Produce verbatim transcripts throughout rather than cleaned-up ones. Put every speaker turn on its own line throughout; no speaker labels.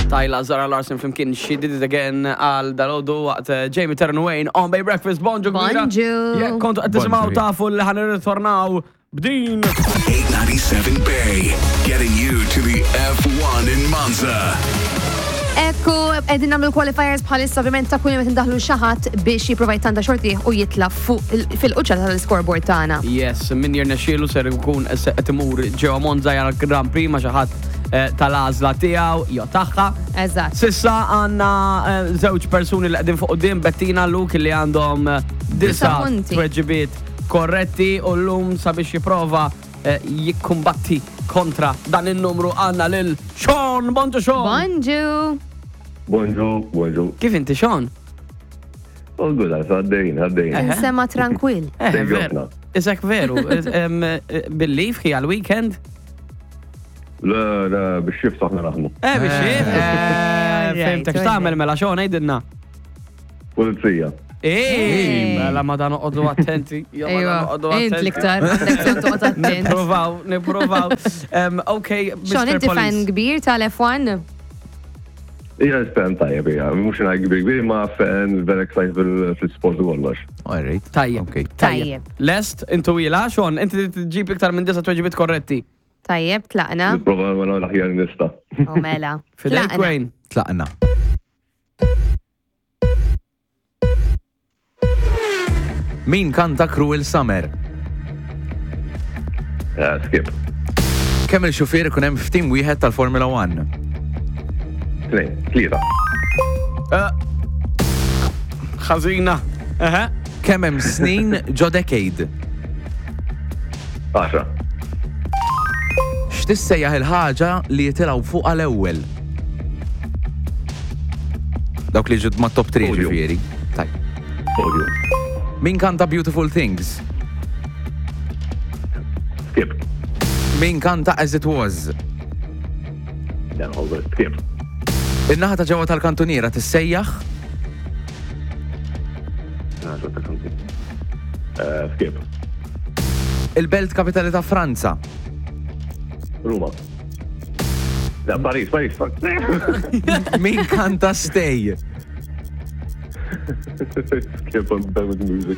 Tyla, Zara Larsson flimkien She Did It Again għal dalgħodu waqt eh, Jamie Turn Wayne on Bay Breakfast. Bonġu kbira.
Bonġu.
Jekk kontu qed tisimgħu
Bonġu.
tafu li ħa nirritornaw b'din.
eight ninety-seven Bay, getting you to the F one in Monza.
Ekku, qegħdin nagħmlu qualifiers bħalissa, ovvjament ta' kull meta ndaħlu xi ħadd biex jipprova jtanta xorti u jitla fuq il- fil-quċċata tal-scoreboard tagħna.
Yes, min jirnexxielu ser ikun se qed imur ġewwa Monza jara Grand Prix ma' xi ħadd eh, tal-għażla tiegħu jew tagħha.
Eżatt.
S'issa għandna eh, żewġ persuni li qegħdin fuq quddiem, Bettina, Luke, li għandhom eh, disa
Disa punti.
tweġibiet korretti u llum sabiex jipprova eh, jikkumbatti kontra dan il-numru għandna lil Sean. Bonġu, Sean.
Bonġu.
Bonġu, bonġu.
Kif inti, Sean?
All good, għaddejn, għaddejn.
Eh.
Sema tranquil.
Eh,
Thank you,
veru.
ħafna.
Isek veru, em, eh, bil-leave hi għal-weekend?
Le, le, biex shift aħna naħdmu.
Eh, biex
Eh.
eh,
Alright,
fhimtek, x'tagħmel mela, Sean, għidilna?
Pulizija.
Ej, mela ma dan noqogħdu attenti. Jo, ma dan
Ejwa,
noqogħdu
int
attenti.
l-iktar, għandek bżonn toqgħod attent.
Nipprovaw, nipprovaw. Em, Ok,
Sean,
Mister
inti fan
Police.
kbir tal-F one?
Ija, fan tajjeb, ija. Mux ngħid kbir kbir, ma fan very excited fil- fil-sport u kollox.
All right.
Tajjeb.
Okay.
Tajjeb.
Lest, intu ila, Sean, inti tġib iktar minn disa tweġibiet korretti.
Tajjeb, tlaqna.
Nipprova ma l-aħjar nista.
U mela.
Fidejk,
Tlaqna.
Wayne.
Tlaqna. Min kanta Cruel Summer?
Eh, Skip.
Kemm il-xufier ikun hemm f'tim wieħed tal-Formula one?
Tnejn, tlieta.
Eh, Ħażina. Eħe.
Kemm hemm snin ġo decade?
Għaxra.
X'tissejjaħ il-ħaġa li jitilgħu fuq għal-ewwel? Dawk li ġud ma' top three
Podium.
ġifieri. Tajjeb.
Podium.
Min kanta Beautiful Things?
Skip.
Min kanta As It Was?
Dan, all good. Skip.
In-naħa ta' ġewwa tal-kantuniera tissejjaħ?
Naħa ta' kanti. Eh, Skip.
Il-belt kapitali ta' Franza.
Ruma. Da, Paris, Paris, fuck.
Min kanta Stay?
Skip on bad with music.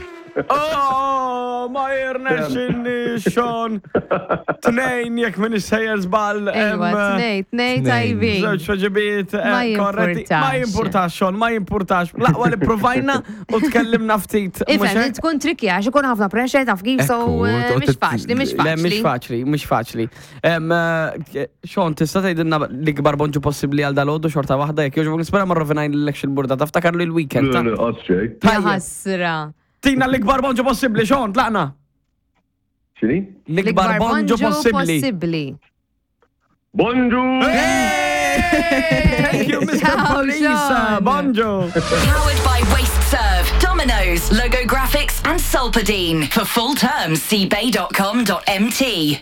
Oh, ma jirnexxinni, Sean. Tnejn, jekk minn sejjer żball.
Ejwa, tnej, tnej tajbin.
Żewġ tweġibiet eh,
Ma
korretti. Ma
jimpurtax.
jimpurtax, Sean, ma jimpurtax. L-aqwa li provajna u tkellimna ftit. Mhux
Ifhem,
hekk?
tkun tricky għax ikun ħafna pressure, taf kif, so
Ekku,
eh,
toqgħod
mhix faċli, mhix
Le, mhix
faċli.
faċli, mhix faċli. Em, eh, Sean, tista' tgħidilna l-ikbar bonġu possibbli għal dalgħodu xorta waħda jekk jogħġbok? Nispera ma rrovinajlekx il-burda. Taftakar li l-weekend.
Le,
ta'
le, għas xej.
Ja
Tajjeb.
ħasra.
Tina l-ikbar bonġu possibbli, Sean, tlaqna.
Xini?
L-ikbar bonġu possibbli.
possibbli.
Bonġu!
Thank you, Mister
Ciao,
Police.
Sean.
Bonġu.
Powered by Waste Serve, Domino's, Logo Graphics, and Solpadine. For full terms, see bay dot com dot M T.